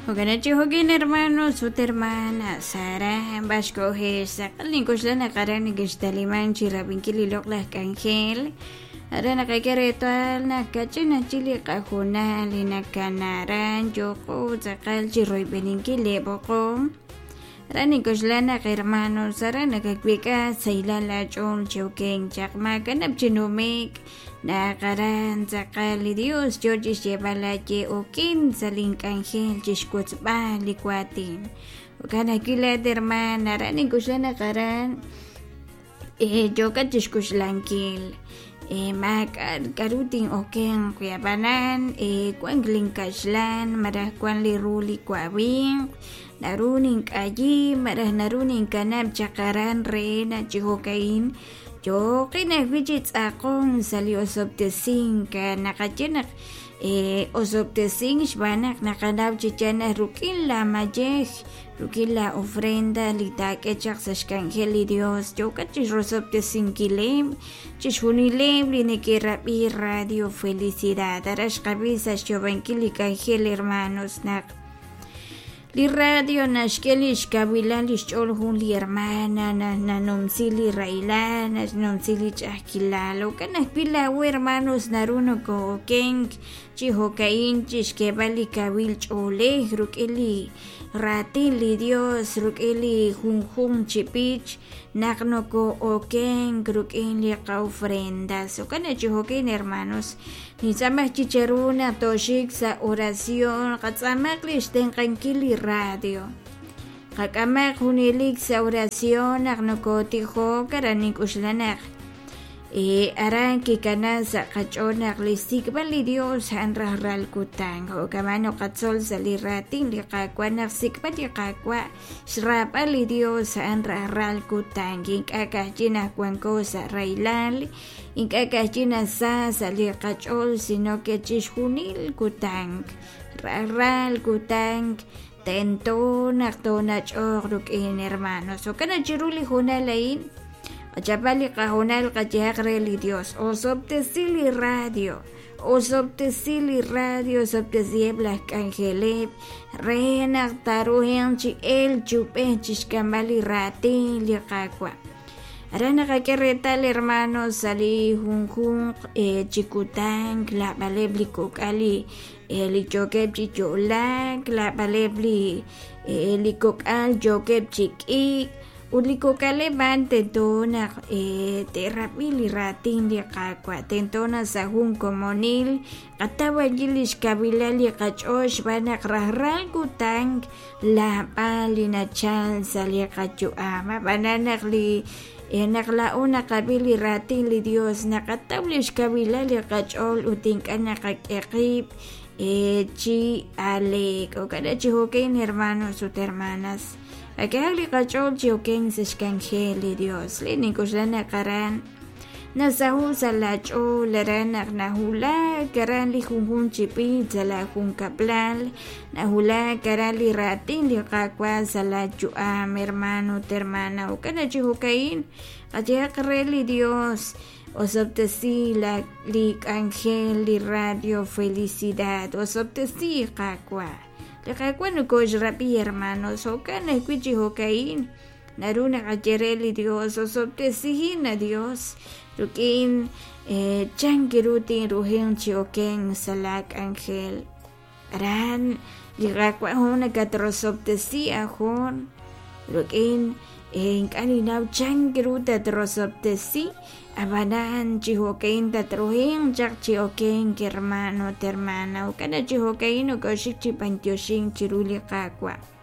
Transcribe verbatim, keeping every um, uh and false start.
Jo'kan chi jo'kin hermanos ut hermanas aran b'ar xkohex tz'aqal nink'oxla naq aran nekextaliman chi rab'inkil li loq'laj k'anjel aran naqak'e reetal naq kach'in aj chik li qahoonal li nakana aran yooqo tz'aqal chi royb'eninkil li b'oqom aran nink'oxla naq hermanos aran nakawek'a sahilal aach'ool chi okenk chaq maakanab' chi nume'k naq aran tz'aqal li Dios yoo chixyeeb'al aaye okin sa' link'anjel chixwotzb'al li waatin jo'kan ajwi' laat hermana aran nink'oxla naq aran eh, yookat chixk'oxlankil eh, maak'a' k'a'ru tin'okenq wi ab'anan eh, wan linkaxlan malaj wan li ru li wawinq naru nink'ayi malaj naru ninkanab' chaq aran re naq chi jo'ka'in yooqin ajwi' chi tz'aqon sa' li osob'tesink naqaye naq eh, osob'tesink xb'aan naq naqanaw chi yaal naq ruk'in la mayej ruk'in la ofrenda li taak'e chaq sa' xk'anjel li Dios yookat chixrosob'tesinkileb' chixjunileb' li neke'rab'i Radio Felicidad aran xqab'i sa' xyoob'ankil li k'anjel hermanos naq li radio naxk'e li xkawilal li xch'ool jun li hermana nanumsi li rahilal naxnumsi li ch'a'ajkilal jo'kan ajwi' laa'o hermanos naru noko'okenk chi jo'ka'in chixk'eeb'al li kawil ch'oolej ruk'in li raatin li Dios ruk'in li junjunq chi b'ich naq noko'okenk ruk'in li qa'ofrendas jo'kan chi jo'kin hermanos nintz'aamaj chi cheru naq tooxik sa' oración qatz'aamaq li xtenq'ankil li radio qak'amaq junelik sa' oración naq nokotijok aran nink'oxla naq eh, aran kikana sa' qach'ool naq li xsik'b'al li Dios a'an rajlal kutan jo'kaman noqatzol sa' li raatin li Qaawa' naq xsik'b'al li Qaawa' xraab'al li Dios a'an rajlal kutan ink'a' ka'ajwi' naq wanko sa' rahilal ink'a' ka'ajwi' naq sa sa' li qach'ool sino que chixjunil kutan rajlal kutan tento naq toonach'oq ruk'in hermanos jo'kan naq chiru li hoonal a'in qachapal li qahoonal qayehaq re li Dios osob'tesi li radio osob'tesi li radio osob'tesiheb' laj k'anjeleb' re naq taaruhenq chi elk chi ub'ej chixk'amb'al li raatin li Qaawa' aran naqak'e reetal hermanos sa' li junjunq eh, chi kutan lab'aleb' li kok'al li eh, li yookeb' chi yo'laak lab'aleb' li eh, li kok'al yookeb' chi k'iik ut li kok'aleb' a'an tento naq eh, te'rab'i li raatin li Qaawa' tento naq sa' jun komonil qataw ajwi' li xkawilal li qach'ool xb'aan naq rajlal kutan lab'al li nachal sa' li qayu'am ab'anan naq li eh, naq laa'o naqab'i li raatin li Dios naqataw li xkawilal li qach'ool ut ink'a' naqak'e qib' eh, chi aleek jo'kan chi jo'kan hermanos ut hermanas Ak'ehaq li qach'ool chi okenk sa' xk'anjel li Dios li nink'oxla naq aran nasaho' sa' laach'ool aran naq nahulak aran li junjunq chi b'ich sa' la junkab'lal nahulak aran li raatin li Qaawa' sa' laayu'am hermano ut hermana jo'kan chi jo'ka'in qayehaq re li Dios osob'tesi la li k'anjel li Radio Felicidad osob'tesi Qaawa' li Qaawa' nokoxrab'i hermanos jo'kan ajwi' chi jo'ka'in naru naqaye re li Dios osob'tesihin a Dios ruk'in eh, chan ru tinrujenq chi okenk sa' la k'anjel aran li Qaawa' jun nakatrosob'tesi ajon ruk'in eh, ink'a' ninnaw chan ru tatrosob'tesi ab'anan chi jo'ka'in tatrujenq chaq chi okenk hermano ut hermana jo'kan chi jo'ka'in nokoxik chi b'antioxink chiru li Qaawa'